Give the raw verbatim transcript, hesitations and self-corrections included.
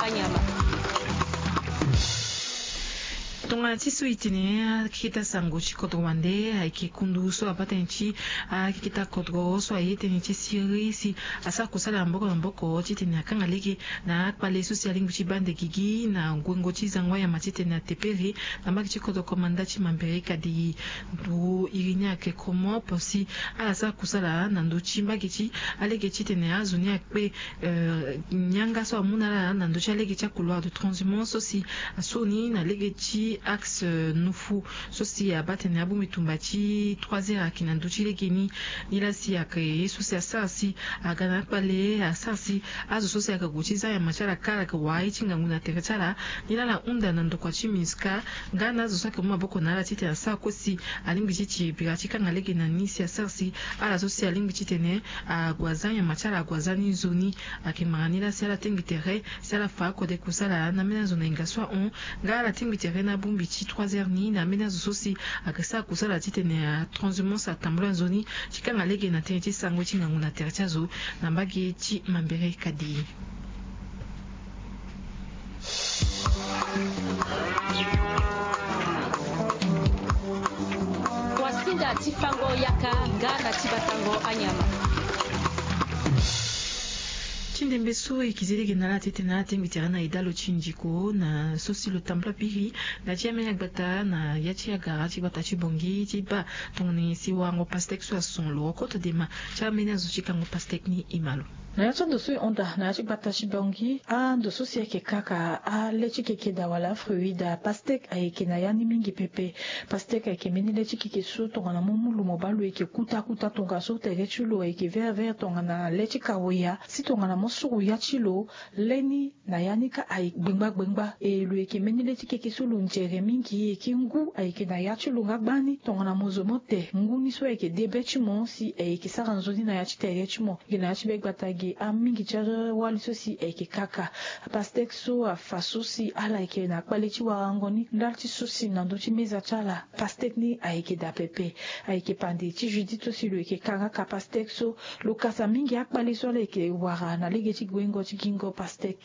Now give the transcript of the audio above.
anyama. Tongana ti so e tene akeketa sango ti kodro wande ayeke kundu so abaa tënë ti akeketa kodro so aye tënë ti siriri si asara kusala na mboko na mboko titene akanga lege na akpale so si alingbi ti baa nde gigi na ngwengo ti zango anyama titene atepere na mbage ti kodro komanda ti Mambere Kadi. Ndo iri ni ayeke komo po si ala sara kusala na ndö ti mbage ti alege titene azo ni akpe, eh, yanga so amu na ala na ndö ti alege ti akouloir de transhumance so si asoni na lege ti axe, eh, Nufu so si abaa tene abongbi tumba ti trois heures ayeke na ndö ti lege ni. Nilaa si ayeke ye so si asara si aga na akpale asara si azo so si ayeke gue ti za nyama ti ala kâ ala yeke wara ye ti ngangu na tere ti ala. Nilaa ala hunda na ndokua ti MINUSCA nga na azo so ayeke mu maboko na ala titene asara kue si alingbi ti tiri bira ti kanga lege na ni si asara si ala so si alingbi titene ague aza nyama ti ala ague aza ni nzoni. Ayeke ngbanga ni laa si ala tengbi tere si ala fa akode kusala na ambeni azo na hinga so ahon. Nga ala tengbi tere na abongbi ti trois heures ni na ambeni azo so si ayeke sara kusala titene atranshumance atambula nzoni ti kanga lege na tënë ti sango ti ngangu na tere ti azo na mbage ti Mambere Kadi. Wasinda ti fango yaka nga na ti batango anyama. Ti ndembe so e kizi lege na ala titene ala tengbi tere na edalo ti ndiko na so si lo tambula biri na ti ambeni agbata na ya ti agara ti gbata ti Bangui ti baa tongana nyen si warango pastèque so ason lo koto dema ti ambeni azo ti kango pastèque ni e ma lo. Na ya ti ando so e hon daa na ya ti gbata ti Bangui, ando so si ayeke kaka ale ti keke daa wala afruit daa, pastèque ayeke na ya ni mingi pepe. Pastèque ayeke mbeni le ti keke so tongana mo mu lo mo baa lo yeke kuta kuta tongaso tere ti lo ayeke vert vert tongana le ti kawoya. Si tongana mo suru ya ti lo, le ni na ya ni kâ ayeke gbengba gbengba. E lo yeke mbeni le ti keke so lo nzere mingi, e yeke ngu ayeke na ya ti lo nga gbani. Tongana mo zo mo te ngu ni so ayeke de be ti mo si ayeke sara nzoni na ya ti tere ti mo. Ge na ya ti be gbata ge, amingi ti awali so si ayeke kaka pastèque so afa so si ala yeke na akpale ti warango ni ndali ti so si na ndö ti meza ti ala. Pastèque ni ayeke daa pepe. Ayeke pande ti Judith so si lo yeke kanga ka pastèque so lo kasa mingi akpale so ala yeke wara na lege ti guengo ti gingo pastèque.